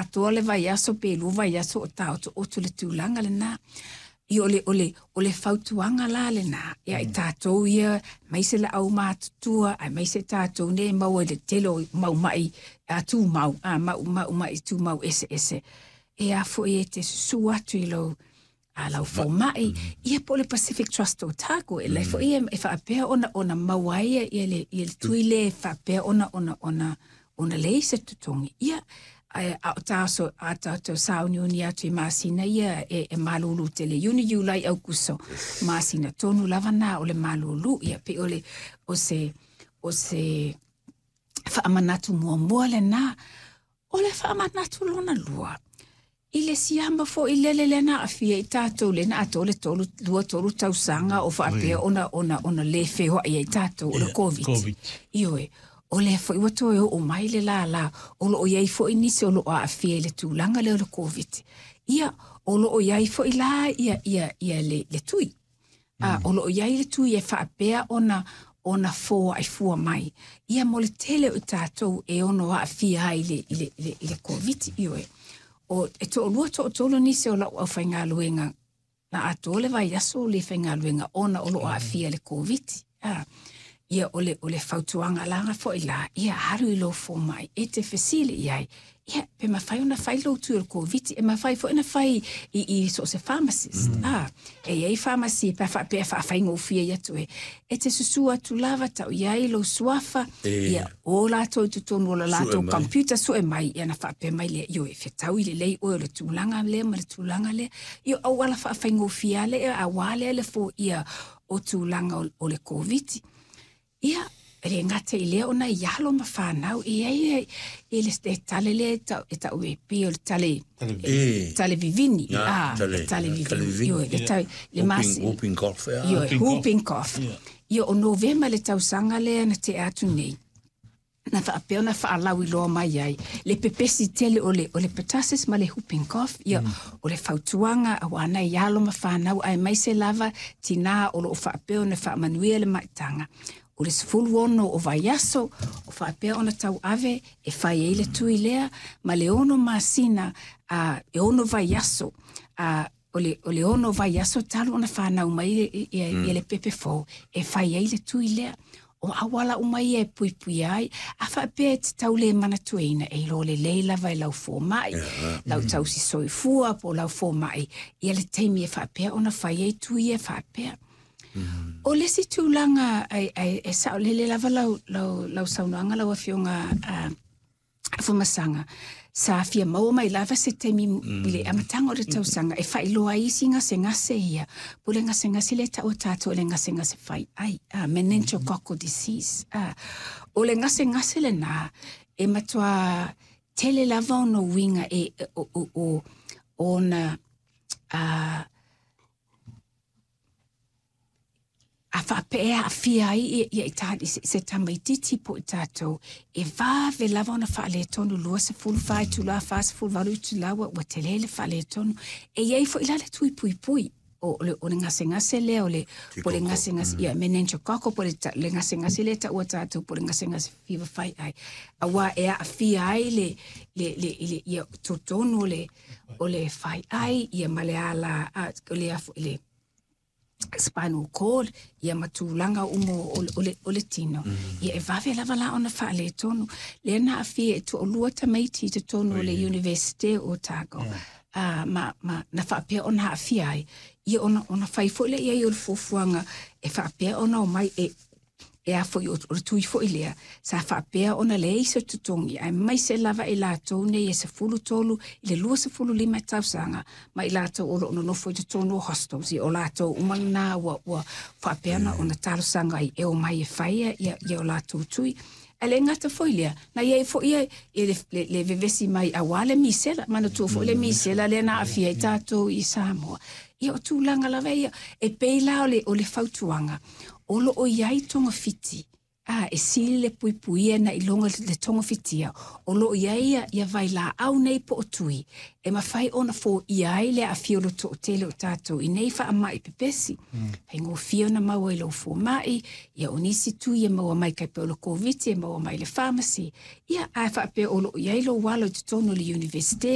atoa le vaiaso pe 2 vaiaso o taotooto le tulaga lena. Ia o le fautuaga la lena ia i tatou ia, aemaise le aumatutua, aemaise tatou nei maua i le tele o mau ma'i tumau, mau ma'i tumau eseese. E a foi e te susu atu i lou a lau foma'i ia po o le Pacific Trust o Otago e lai fo'i e faapea ona maua ai ia le tui le faapea ona leai se totogi ia a o taso a tatou sauniuni atu i masina ia e malulu tele, Iuni, Iulai, Aukuso, masina tonu lava na o le malulu ia pe o le o se faamanatu muamua lena. O le faamanatu lona lua i le siama fo'i lele lea na aafia i tatou le na atoa le 3, 2, 3 tausaga o faapea ona lē feoa'i ai tatou, o le Covid. COVID. Ioe, o lea foi ua toe oo mai le lālā o loo i ai fo'i nisi o loo aafia i le tulaga lea o le Covid. Ia o loo i ai fo'i la ia le tui. O loo i ai le tui e faapea ona foa'i fua mai ia mo le tele o i tatou e ono aafia ai i le Covid. Ioe, o e to'alua to'atolu nisi o la'u aufaigaluega na atoa le vaiaso le faigaluega ona o loo aafia le Covid. Ia o le fautuaga laga fo'i la ia alu i lou fomai e te fesili i ai ia pe mafai ona fai lou tui o le Covid. E mafai foi ona fai i so o se pharmacist. E iai pharmacy pe faapea faafaigofie i atu e te susu atu lava tau i ai lou suafa ia o latou i totonu o le latou mai. Computer sue mai ia na faapea mai lea io e fetau i lelei oe o le tulaga lea ma le tulaga lea ia auala faafaigofie a lea auā lea le foia o tulaga o le Covid. Ia, e le gata i lea ona i alo ma whanau, e ai e le tale lea e tau e pi o le tale, tale vivini. Tale- Le tale tale vivini. vivini. Ioe, le tale, le masi. Whooping cough. Ioe, Whooping cough. Whooping cough. Ia, o Novema le tausaga lea na te atu nei na faapea ona faalauiloa mai ai le pepesi tele o le pertussis ma le whooping cough. Ia, o le fautuaga auā nai alo ma fanau aemaise lava tinā o loo faapea ona faamanuia le maitaga o le 16 o vaiaso o faapea ona tauave e fai ai le tui lea ma le 6 masina a e 6 vaiaso a o le 6 vaiaso talu ona fanau mai ia le pepe fou e fai ai le tui lea. O auala uma ia e puipui ai a faapea e te tau le manatuaina e ilo lelei lava e lau fomai, lau tausi soifua po o lau fomai ia le taimi e faapea ona fai ai tui e faapea. O le isi tulaga ai e saolele lava lau saunoaga lau afioga Afamasaga sa fia maua mai lava se taimi i le amataga o le tausaga e faailoa ai isi gasegase ia po le gasegase lea taua tatou le gasegase faiai, meningococcal disease. O le gasegase lenā e matuā tele lava ona uiga e o ona a faapea aafia ai ia i ta, se tamaititi po i tatou e vave lava ona faaletonu 24 itulā, 48 itulā ua tele le faaletonu. E iai fo'i la le tui puipui o le gasegase lea o le po le gasegase ia meningococcal po le gasegase lea taua tatou po le gasegase fiva fai ai auā e aafia ai le ia totonu o le fai ai ia ma le ala o le afo le spinal cord ia ma tulaga uma o le tino. Ia e vave lava la ona faaletonu lea na aafia e toalua tamaiti i totonu o le Universite o Otago ma na faapea ona aafia ai ia ona fai fo'i lea iai o le fuafuaga e faapea ona omai e a foi o le tui foi lea sa faapea ona leai se totogi aemaise lava i latou nei e 13 i le 25 tausaga ma i latou o loo nonofo i totonu o hostels. Ia o latou uma lena ua faapea ona talosaga ai e omai e faia ia o latou tui. Ae le gata foi lea na iai foi ia le vevesi mai auā le misela manatua foi le misela lea na aafia ai tatou i Samoa. Ia o tulaga lava ia e pei la o le fautuaga o loo i ai togafiti e sili le puipuia na iloga le togafitia o loo i ai ia vailaau nei po o tui e mafai ona foia ai le aafia o le to'atele o tatou i nei faama'i pepesi. Faigofie ona maua i lou foma'i ia o nisi tui e maua mai kai pe o le Koviti e maua mai le pharmacy ia ae faapea o loo i ai lou alo i totonu o le universite.